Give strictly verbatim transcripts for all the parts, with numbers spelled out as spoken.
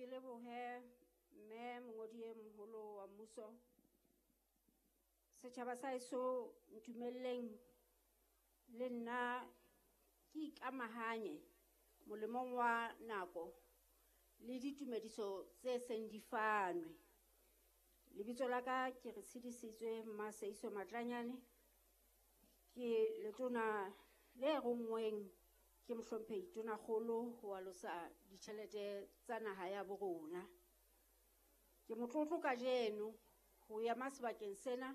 Ke lebohe mme mongodi e moholo wa mmuso. Setjhaba sa heso, ntumelleng le nna ke ikamahanye molemong wa nako le ditumediso tse seng di fanwe. Lebitso la ka ke re tshedisitswe Mmaseiso Matlanyane, ke letona le ronngweng ke mohlomphehi Tonakgolo ho alosa ditjhelete tsa naha ya bo rona. Ke motlotlo kajeno ho ema sebakeng sena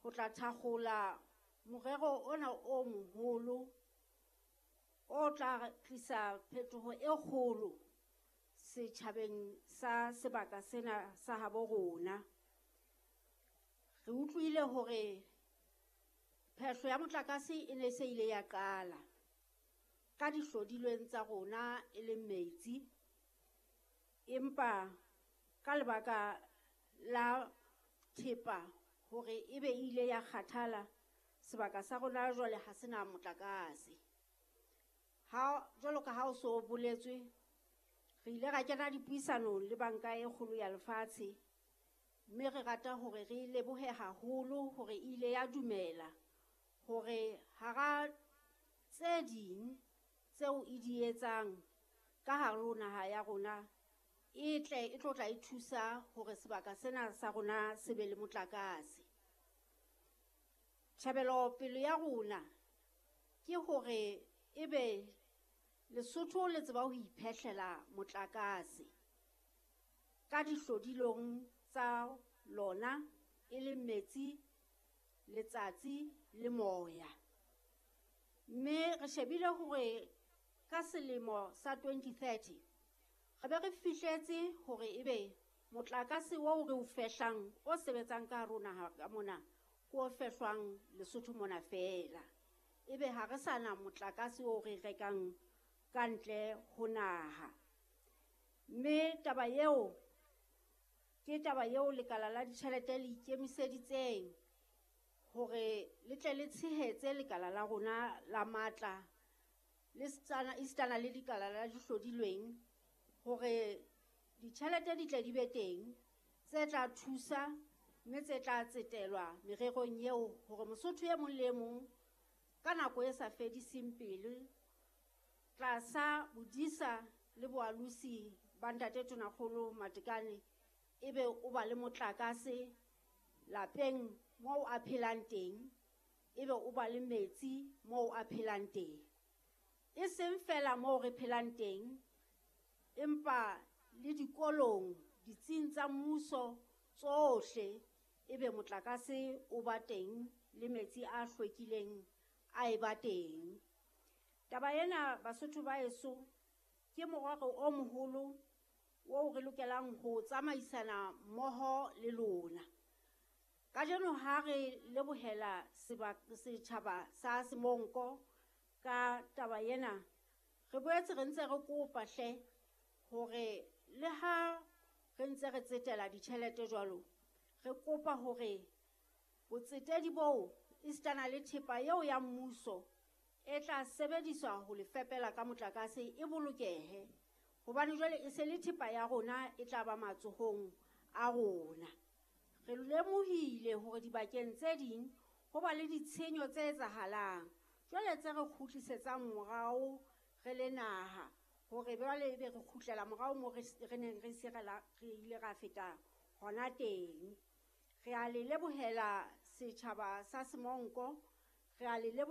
ho tla thakgola morero ona o moholo o tla tlisa phetoho e kgolo setjhabeng sa sebaka sena sa habo rona. Re utlwile hore phehlo ya motlakase e ne se ile ya qala ka dihlodilweng tsa rona e leng metsi, empa ka lebaka la thepa hore ebe e ile ya kgathala, sebaka sa rona jwale ha sena motlakase. Ha jwalo ka ha o so boletswe, re ile ra kena dipuisanong le banka e kgolo ya lefatshe, mme re rata hore re lebohe haholo hore e ile ya dumela hore hara tse ding tseo e di etsang ka hare ho naha ya rona e tle e tlo tla e thusa hore sebaka sena sa rona se be le motlakase. Tjhebelopele ya rona ke hore ebe Lesotho le tseba ho iphehlela motlakase ka dihlodilong tsa lona e leng metsi, letsatsi le moya. Mme re shebile hore ka selemo sa twenty thirty re be re fihletse hore ebe motlakase oo re o fehlang o sebetsang ka hare ho naha ka mona ke o fehlwang Lesotho mona feela. Ebe ha re sa na motlakase oo re rekang ka ntle ho naha. Mme taba eo ke taba eo lekala la ditjhelete le ikemiseditseng hore le tle le tshehetse lekala la rona la matla le esitana le lekala la dihlodilweng hore ditjhelete di tle di be teng tse tla thusa mme tse tla tsetelwa mererong eo hore Mosotho e mong le e mong ka nako e sa fediseng pelo tlasa bodisa le boalosi ba ntate Tonakgolo Matekane ebe o ba le motlakase lapeng moo a phelang teng, ebe o ba le metsi moo a phelang teng. E seng feela moo re phelang teng, empa le dikolong, ditsing tsa mmuso tsohle ebe motlakase o ba teng le metsi a hlwekileng a e ba teng. Taba ena Basotho ba heso ke morero o moholo oo re lokelang ho tsamaisana mmoho le lona. Kajeno ha re lebohela setjhaba sa Semonko ka taba ena, re boetse re ntse re kopa hle hore le ha re ntse re tsetela ditjhelete jwalo, re kopa hore botsetedi boo esitana le thepa eo ya mmuso e tla sebediswa ho le fepela ka motlakase e bolokehe, hobane jwale e se le thepa ya rona e tla ba matsohong a rona. Re lemohile hore dibakeng tse ding ho ba le ditshenyo tse etsahalang jwale tse re kgutlisetsang morao re le naha, hore jwale ebe re kgutlela morao moo re neng re se re ile ra feta hona teng. Re a le lebohela setjhaba sa Semonko, re a le lebohela